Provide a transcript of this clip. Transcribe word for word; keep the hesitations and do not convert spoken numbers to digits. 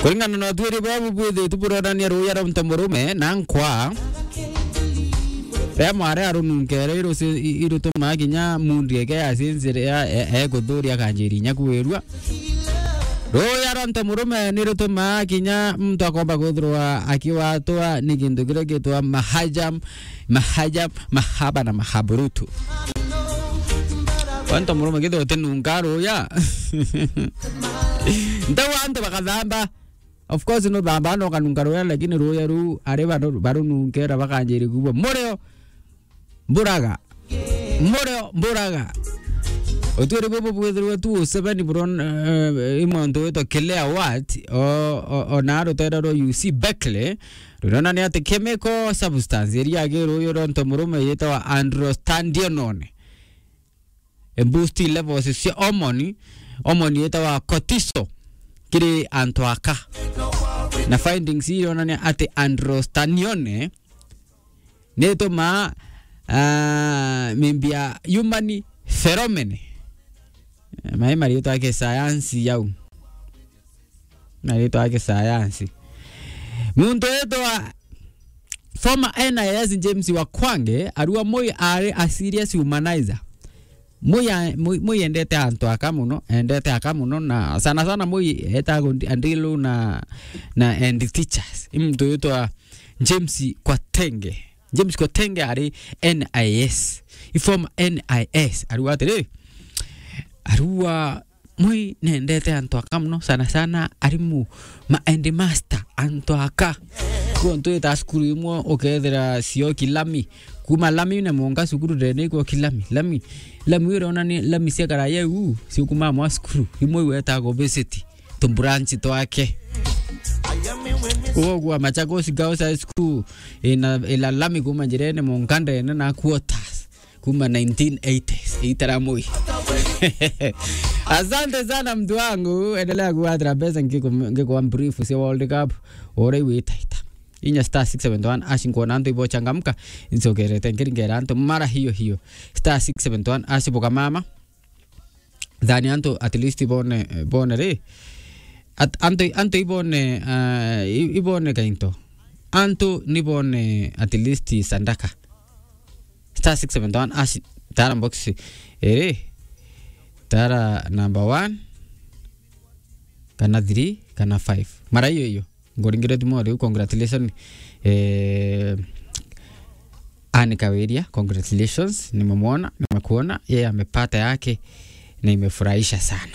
Kuringana na utwiri bwa bubwithitu buronania ruya rwa muntu murume na nkwa. Ria mwari arununkere irusi-, i-, irutumaa kinya mundi eke yacinzire ya, e-, ekuthuria akanjiri inya kwirua. Ruya rwa muntu murume ni rutumaa kinya muntu akomba kwithirwa akiwatwa ni kintu kiria gitwa mahajam, mahajam, mahaba na mahaburutu. Kwa muntu murume kithirwa utinunka ruya. Ntau antu bakathamba. Of course, no thamba no kanunka ruya, lakini ruya ru ari baru-, barununkera bakanjiri kuwa. Murio mburaga. Murio mburaga. Utwiri bubu bwithirwe tu seven buron, eh, i muntu witwa Claire Watt, o, o, o na rutera rwa U C Berkeley, ruronania ati chemical substance iria agi ruyu rwa muntu murume yitawa androstenedione. E boost levels cia hormone, hormone yitawa cortisol kiri antu aka. Na findings ironania ati androstenedione ni itumaa, ah, mimbi ya human pheromone. Eh, mai maritwa ya kisayansi yau. Maritwa ya kisayansi. Muntu witwa former N I S James Wakwange, arua Moi ari a serious humanizer. Moi a-, Moi, Moi endete antu aka muno, endete aka muno, na sana sana Moi etaga andilu na, na and teachers. I muntu witwa James Kwatenge. James Kwatenge ari N I S. I former N I S. Arua atiri, arua Moi nendete antu aka muno, sana sana arimu, ma headmaster, antu aka. Kwou ntwita cukuru imwe ukethira cio kilami. Kuma lami na monga cukuru ndene ikwo kilami. Lami, lami uria ona ni lami cia karaya u, cio kuma mwa cukuru. Imwe iwetaga obesity. Tumbranchi twake. Uguo Machakos Girls High School ina, ila lami kuma njirene monga ndene na quarters. Kuma nineteen eighties, itara Moi. Asante sana mtu wangu, endelea kuwatira pesa ngiku-, ngikuwa brief cia World Cup, ore witaita. Inya star six seven one hash nkuona antu ibochangamka, insokerete nkiringera antu mara hiyo hiyo. Star six seven one hash buka mama. Thani antu at least bone, bone ri. At-, antu, antu ibone, ah, i-, ibone kainto. Antu ni bone at least sandaka. Star six seven one hash, tara box iri, tara number one, kana three, kana five. Mara hiyo hiyo. Ngoringire tu mwa riu, congratulations. Eh, Anne Kawiria, congratulations. Nimemwona, nimekuona. Yeye amepata yake na imefurahisha sana.